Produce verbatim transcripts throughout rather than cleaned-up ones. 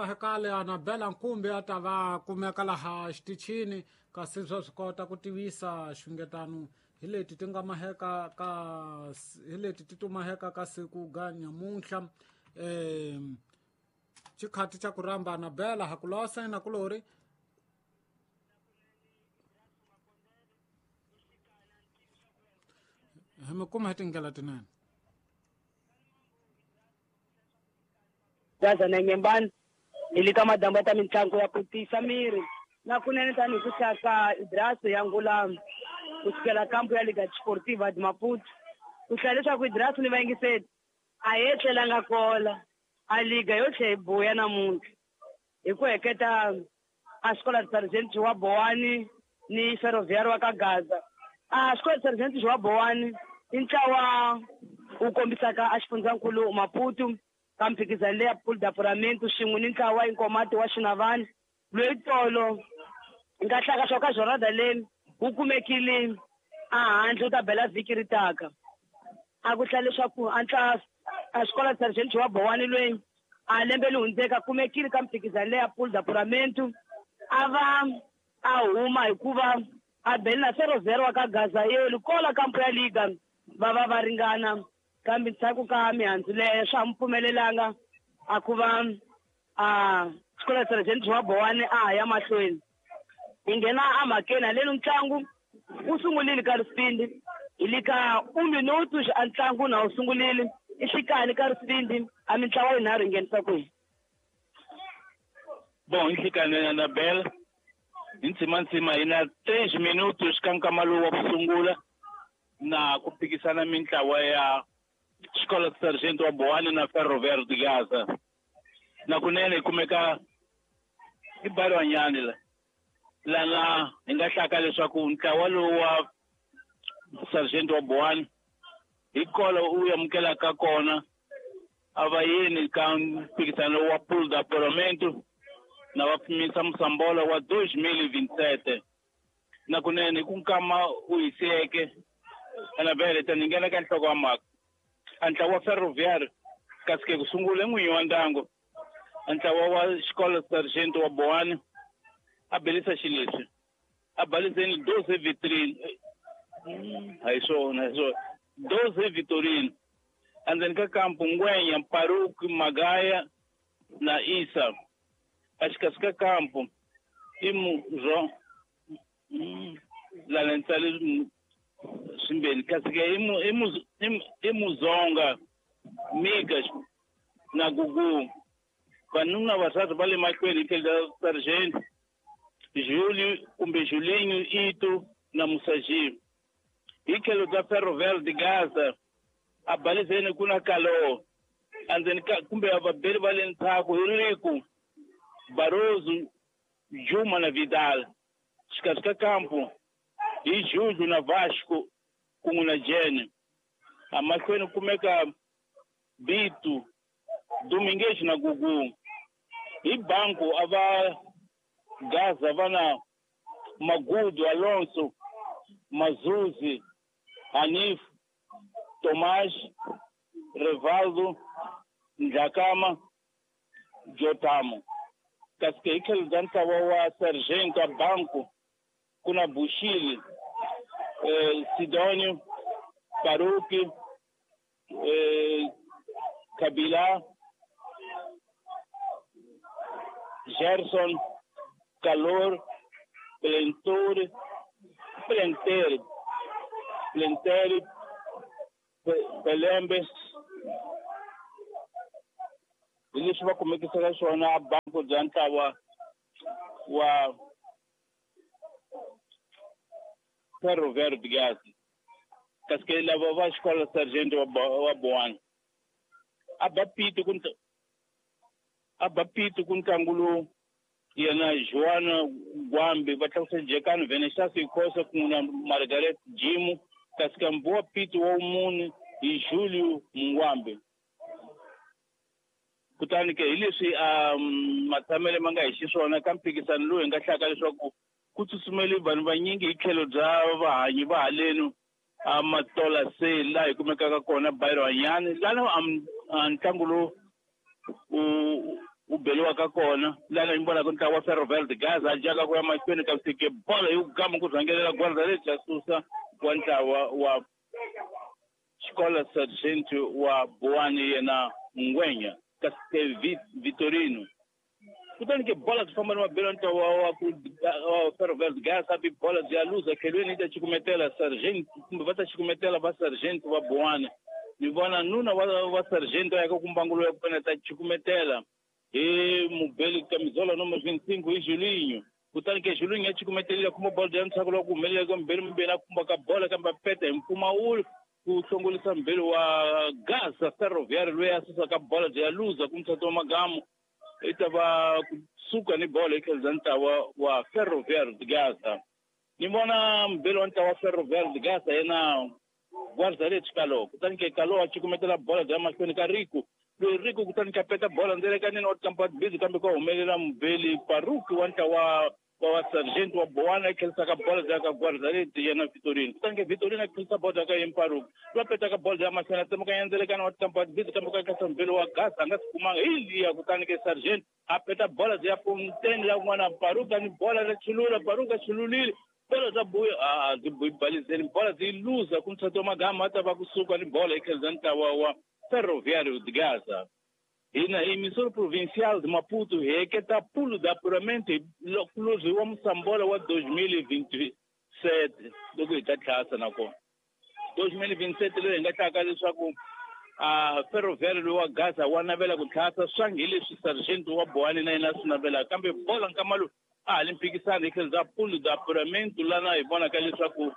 nga hekale Anabela Nkumbi a ta va kumeka laha xitichini kasi swa swi kota ku tivisa xungetano hi leti ti nga maheka ka hi leti ti tumaheka ka siku ga nyamuntlha eh xikhati xa ku rhamba Anabela hakulosa na kulori hi mi kuma hi tindlela tinene Gaza na Nyembani hi le ka madamba ta mitlangu ya ku tiyisa miri na kunene tanihi ku hlaka Idraso ya ngula ku sukela kampu ya Liga Desportiva de Maputo ku hlaya leswaku Idraso ni vayingiseli a hi etlelanga kola a liga yo tlhe hi buya namuntlha hi ku heketa a Escola de Sargento wa Boane ni Ferroviário wa ka Gaza a Escola de Sargento wa Boane i ntlawa wu kombisaka a xifundzankulu Maputo ka mphikizano leya Pool d'Apuramento swin'we ni ntlawa Inkomati wa Xinavani loyi tolo nga hlaka swa ka jornada leyi wu kumekile a handle wu ta bela vhiki ri taka a ku hlaya leswaku a ntla a Escola de Sargento wa Boane loyi a lembe li hundzeka kumekile ka mphikizano leya Pool d'Apuramento a va a huma hikuva a bele na Ferroviário wa ka Gaza yeli kola kampu ya liga va va va ringana kambe ndzhaku ka mihandzu leyo swa mu pfumelelanga a ku va a Escola de Sargento wa Boane a ha ya mahlweni hi nghena emhakeni haleni ntlangu wu sungulile ka risipindi hi le ka un minuto a ntlangu na wu sungulile i xikani ka risipindi a mintlawa yinharhu yi nghenisa kwihi bon i xikani Anabel hi ntsimantsima hi na três minutos ka nkama lowu wa ku sungula na ku phikisana mintlawa ya Escola de Sargento wa Boane na Ferroviário de Gaza na kunene hi kumeka i Barwanyani la lana hi nga hlaka leswaku ntlawa lowu wa Sargento wa Boane hi kolo u amukelaka kona a va yini ka mphikizano wa Pool d'Apuramento na va pimisa Moçambola wa dois mil e vinte e sete na kunene ku nkama u hiseke Anabela ta ni nghena ka nhloko wa mhaka a ntlawa wa Ferroviário kasi ke ku sungula n'winyi wa ndyangu a ntlawa wa Escola Sargento wa Boane a belisa xileswi a baliseni doze vitrine a hi swona hi swona doze vitorino endzeni ka kampu Ngwenya Paruki Magaya na Isa a xikarhi ka kampu i Muzo lana ni tsale swimbeni kasi ke i Muzonga Migas na Gugu vanuna vasati va le mahlweni hi tlhelo ra Sargento Júlio kumbe Julinho Ito na Musaji hi tlhelo bya Ferroviário de Gaza a baliseni ku na Kalo endzeni ka kumbe vabeli va le ndzhaku hi Riku Barroso Juma na Vidal xikarhi ka kampu hi Júlio na Vasco kun'we na Jene amahlweni kumeka Bito Domingues na Gugu hi banku a va Gaza va na Magudu Alonso Mazuzi Hanif Tomás Revaldo Ndlakama Jotamo kasi ke hi tlhelo bya ntlawa wa Sargento a banku ku na Bushili eh, Sidonio Paruki eh, Kabila Gerson Calor Plenture Plentere Plentere Pelembe hi leswi va kumekisaka swona a banku bya ntlawa wa Ferroviário de Gaza kasi ke lava va Escola Sargento wa Boane a ba pito ku a ba pito ku ntlangu lowu yena Joana Gwambi va tlakusa Jekani Veneshasi Khosa kun'we na Margaret Jimu kasi ka mbuwa pito wa mune hi Julio Mungwambi kutani ke hi leswi um matshamele ma nga hi xiswona ka mphikizano lowu hi nga hlaka leswaku ku tsutsumele vanhu vanyingi hi tlhelo bya vahanyi va halenu a Matola se laha hi kumekaka kona Barwanyani lana a ntlangu lowu u u beliwaka kona lana ni vonaka ntlawa wa Ferroviário de Gaza a jaka ku ya mahlweni kasi ke bolo yi gama ku rhangelela gwanda lebyi a susa wa ntlawa wa Escola Sargento wa Boane yena Ngwenya kasi ke Vitorino kutani ke bola byi famba ni mabelo ntlawa wa ku wa Ferroviário de Gaza bi bola byi ya luza khelweni yi ta cukumetela Sargento kumbe va ta cukumetela va Sargento wa Boane ni vona nuna wa wa Sargento ya ka kumbangulo ya kona ta cukumetela hi mubeli camisola número vinte e cinco hi Julinho kutani ke Julinho ya cukumetelile kuma bola ya ntsako loko humelela ka mbeli mbeni a kumba ka bola kambe a peta hi mpfumawulo ku hlongolisa mbeli wa Gaza Ferroviário loyi a susaka bola byi ya luza ku muthatha wa magamu i ta va kusuka ni bola hi tlhelo bya ntlawa wa Ferroviário de Gaza ni vona mbeli wa ntlawa wa Ferroviário de Gaza yena Guarda-redes Caló kutani ke Caló a cukumetela bola bya mahlweni ka Rico loyi Rico kutani ka peta bola ndzelekanini wa tikampa busy kambe ka humelela mubeli Paruki wa ntlawa wa wa Sargento wa Boana a tlherisaka bola bya ka Guarda-redes yena Vitorino kutani ke Vitorino a tlherisa bola ka yena Paruki loyi a petaka bola bya mahlweni a tsemakanya ndzelekanini wa tikampa busy kambe ka tlherisa mubeli wa Gaza a nga swi kumanga hi liya kutani ke Sargento a peta bola bya ponteni la kun'wana Paruki a ni bola ra chulula Paruki a chululile bola bya buya a byi buyi balizeni bola byi luza ku muthatha wa magama a ta va kusuka ni bola hi tlhelo bya ntlawa wa Ferroviário de Gaza hina emissora provincial de Maputo hi heketa pulo de apuramento hi wa Moçambola wa dois mil e vinte e sete loko hi ta tlhasa nakona dois mil e vinte e sete leyi hi nga tlaka leswaku a Ferroviário loyi wa Gaza wa navela ku tlhasa swangi hi leswi Sargento wa Boane na yena a swi navelaka kambe bola nkama lowu a ha li mphikisano hi tlhelo bya pulo de apuramento lana hi vonaka leswaku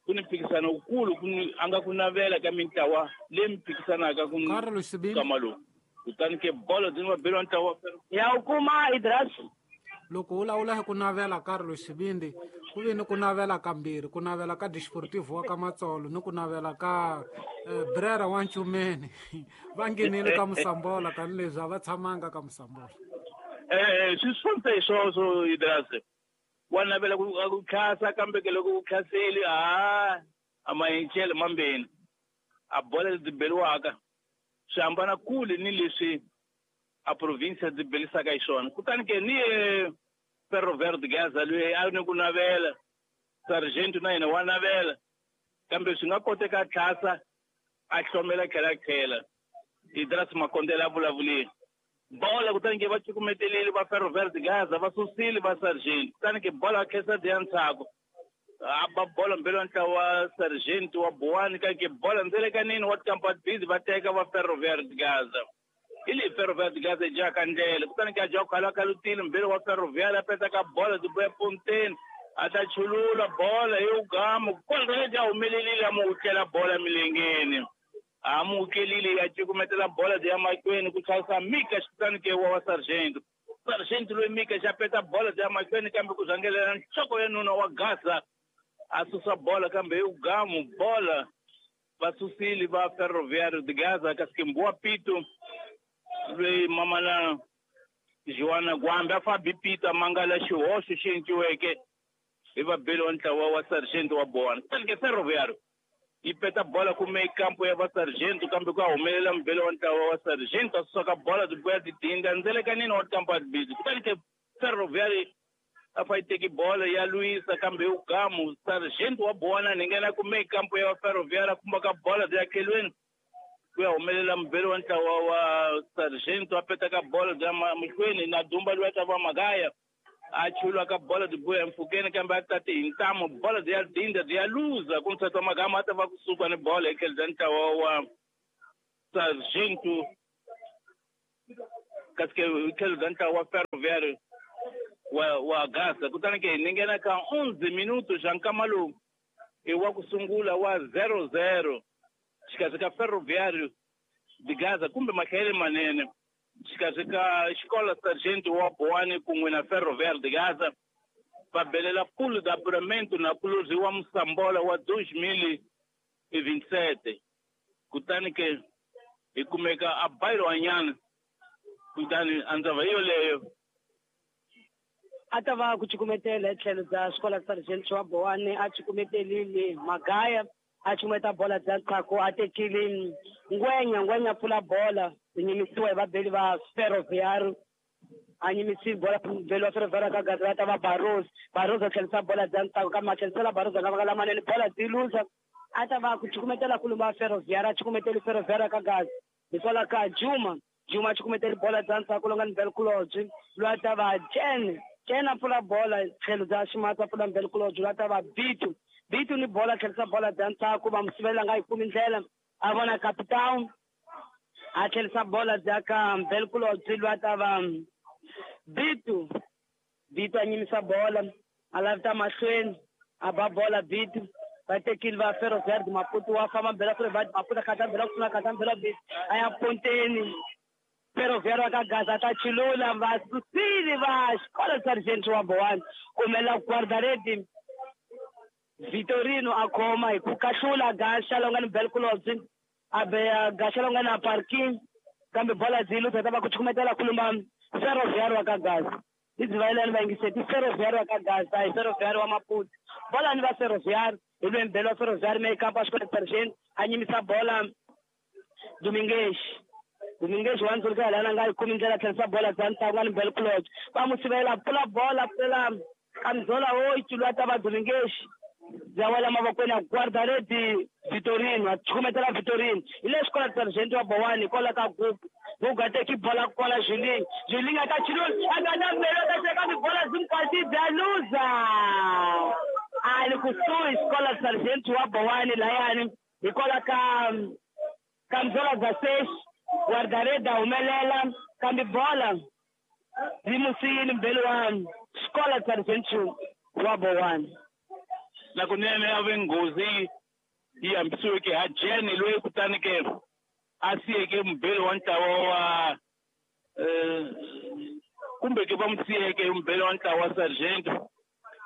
ku ni mphikisano wukulu ku ni a nga ku navela ka mintlawa leyi mi phikisanaka ku nkama lowu kutani ke bolo byi va beriwa ntlawa ya u kuma Idras loko u lawula hi ku navela Carlos Xivindi ku vi ni ku navela kambirhi ku navela ka Desportivo wa ka Matsolo ni ku navela ka eh, Brera wa Nchumeni va nghenile ka Moçambola tanihileswi a va tshamanga ka Moçambola eh swi swonse hi swoswo Idras wa navela ku ku khasa kambe ke loko ku khaseli a a mayichele mambeni a bola lebyi beriwaka swi hambana kule ni leswi a province byi belisaka hi swona kutani ke ni Ferroviário de Gaza loyi a ni ku navela Sargento na yena wa navela kambe swi nga koteka a tlhasa a hlomela tlhela tlhela Idras Makondela a vulavulile bola kutani ke va cukumetelile va Ferroviário de Gaza va susile va Sargento kutani ke bola a khensa diya ntsako a ba bola mbelo ntlawa wa Sargento wa Boane ka ke bola ndzelekanini wa tikampa busy va teka va Ferroviário de Gaza hi leyi Ferroviário de Gaza yi jaka ndlela kutani ke a jaka khala khalutile mbelo wa Ferroviário a peta ka bola byi buya ponteni a ta chulula bola hi ugama kola lebyi a humelelile a mu wutlela bola milengeni a amukelile ya cukumetela bola bya mahlweni ku tlhasa Mika xikutani ke wa wa Sargento Sargento loyi Mika xa peta bola bya mahlweni kambe ku rhangelela nhloko ya nuna wa Gaza a susa bola kambe hi ugamu bola va susile va Ferroviário de Gaza kasi ke Mbuwa Pito loyi mamana Joana Gwambe a fa bipita mangala xihoxo xi endliweke hi vabeli wa ntlawa wa Sargento wa Boane kutani ke Ferroviário yi peta bola kume kampo ya va Sargento kambe ku humelela mubeli wa ntlawa wa Sargento a susa bola byi buya tidinga ndzelekanini wa tikampa busy kutani ke Ferroviário a fa yi teki bola ya lwisa kambe hi ugamu Sargento wa Boane ni nghena kume kampo ya Ferroviário a kumba ka bola bya khelweni ku ya humelela mubeli wa ntlawa wa Sargento a peta ka bola bya mahlweni na Dumba loyi a ta va Magaya a chulwa ka bola byi buya mpfhukeni kambe a tati hi ntamu bola byi ya dinda byi ya luza ku muthatha magama a ta va kusuka ni bola hi tlhelo bya ntlawa wa Sargento kasi ke hi tlhelo bya ntlawa wa Ferroviário wa wa Gaza kutani ke ni nghena ka onze minutos xa nkama lowu i wa ku sungula wa zero zero xikarhi ka Ferroviário de Gaza kumbe mahlayele manene xikarhi ka Escola Sargento wa Boane kun'we na Ferroviário de Gaza va belela pulo de apuramento na kulozi wa Moçambola wa dois mil e vinte e sete kutani ke hi kumeka a bairwanyana kutani a ndzava yoleyo a ta va ku cukumetela hi tlhelo bya Escola Sargento wa Boane a cukumetelile Magaya a cukumeta bola bya ntsako a tekile Ngwenya Ngwenya pfula bola byi nyimisiwa hi vabeli va Ferroviário A nyimisi bola mbeli wa Ferroviário ka Gaza ta va Barros. Barros a tlherisa bola bya ntsako kambe a tlherisela Barros a nga lamanene bola byi luza. A ta va ku cukumetela kulumba Ferroviário, a cukumeteli Ferroviário ka Gaza. Hikwalaho ka Juma, Juma a cukumeteli bola bya ntsako lowu nga ni Belkulobye, loyi a ta va Jen. Jen a pfula bola tlhelo bya ximatsi a pfula Belkulobye, loyi a ta va Bitu. Bitu ni bola tlherisa bola bya ntsako va mu sivela nga yi kumi ndlela. A vona Capitão a tlherisa bola bya ka Belkulobye, loyi a ta va Bitu. Bitu a nyimisa bola a lavita mahlweni a ba bola Bitu. Va tekile va Ferroviário de Maputo wa famba mbela Ferroviário de Maputo khatha mbela ku khatha mbela Bitu a ya ponteni. Ferroviário ka Gaza ta chilula va susile va Escola Sargento wa Boane kumela guarda-rede Vitorino a khoma hi ku kahlula Gasha lowu nga ni Belkulobye a beya Gasha lowu nga na parking kambe bola byi luza ta va ku cukumetela kulumba Ferroviário ka Gaza. Izivayelani va yingiseti Ferroviário ka Gaza hi Ferroviário wa Maputo. Bola ni va Ferroviário hi lwe mbelo wa Ferroviário meio campo a Escola Sargento a nyimisa bola Domingues. Domingues wa ndzuluka lana nga yi kumi ndlela tlherisa bola bya ntsako nga ni Belkulobye. Va mu sivela pfula bola pfula Kamzola oito loyi a ta va Domingues. Bya wela mavokweni ya guarda-rede Vitorino, a cukumetela Vitorino. Hi le Escola Sargento wa Boane hikwalaho ka Gugu. Gugu a teki bola kwala Julinho. Julinho a ta chilula, a nga na mbelo a ta teka tibola hinkwato bya luza. A li kusuhi Escola Sargento wa Boane layani hikwalaho ka Kamzola Gasesh guarda-rede a humelela kambe bola yi mu siyile mbelo wa Escola Sargento wa Boane. Na kunene a ve nghozi yi hambisiweke ha Jen loyi kutani ke a siyeke mbeli wa ntlawa wa eh kumbe ke va mu siyeke mbeli wa ntlawa wa Sargento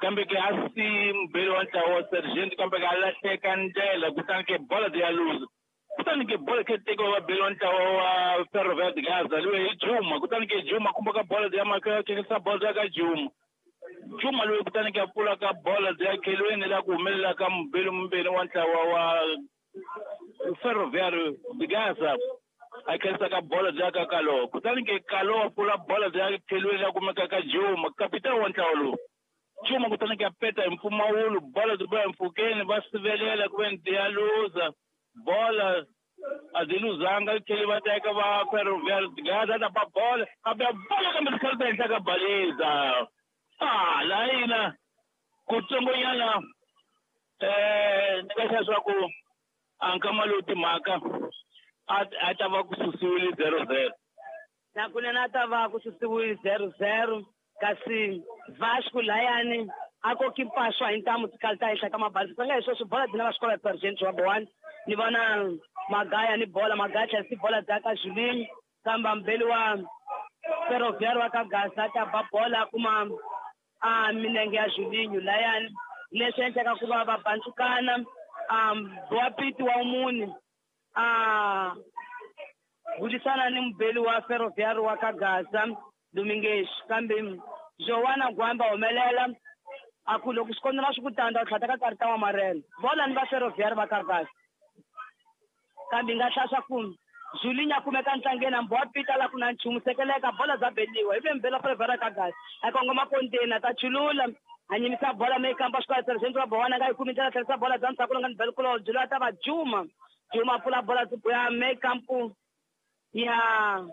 kambe ke a si mbeli wa ntlawa wa Sargento kambe ke a lahleka ndlela kutani ke bola ya luza. Kutani ke bola ke tekiwa va beli wa ntlawa wa Ferroviário de Gaza loyi hi Juma kutani ke Juma kumba ka bola ya maka khensa bola ya ka Juma. Juma loyi kutani ke a pfula ka bola ya khelweni la ku humelela ka mbeli mbeli wa ntlawa wa Ferroviário de Gaza a khensa ka bola ya ka Kalo kutani ke Kalo a pfula bola ya khelweni la kumeka ka Juma kapitani wa ntlawa lowu. Juma kutani ke a peta hi mpfumawulo bola byi ba mpfhukeni va sivelela ku ve ni ya luza bola a byi luzanga yi tlhele va teka va Ferroviário de Gaza ta ba bola a ba bola kambe tikhali ta henhla ka baliza. Ah, layina kutsongonyana eh ni nga swa ku a nkama lowu timhaka a ta va ku susiwile zero zero. Na kunene a ta va ku susiwile zero zero kasi Vasco layani a koki mpaswa hi ntamu tikhali ta henhla ka mabaliza. Swi nga hi sweswo bola byi na va Escola Sargento wa Boane. Ni vona Magaya ni bola Magaya tlherisa bola bya ka Julinho kambe mbeli wa Ferroviário wa ka Gaza ta ba bola kuma a minenge ya Julinho layani leswi endlaka ku va va bantsukana wa Piti wa mune a burisana ni mubeli wa Ferroviário wa ka Gaza Domingues kambe Joana Gwamba humelela a ku loko swikonela swi ku tanda u tlhata ka karita wa marele bola ni va Ferroviário va ka Gaza kambe nga hlasa ku Julinho a kumeka ntlangeni hambi wa Pita la ku na nchumu sekeleka bola bya beliwa hi ve mbela Ferroviário ka Gaza a kongoma ponteni a ta chulula a nyimisa bola meyi kampa Escola Sargento wa Boane nga yi kumi ndlela tlherisa bola bya ntsako lowu nga ni Belkulobye loyi a ta va Juma. Juma a pfula bola ya meyi kampu ya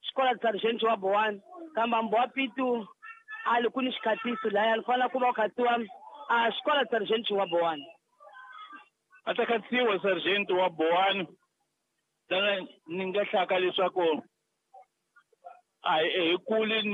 Escola Sargento wa Boane kambe hambi wa Pitu a li ku ni xikhatiso laya li fanele ku va ku khatiwa a Escola Sargento wa Boane. A ta khatiwa Sargento wa Boane lana ni nga hlaka leswaku a hi kuli ni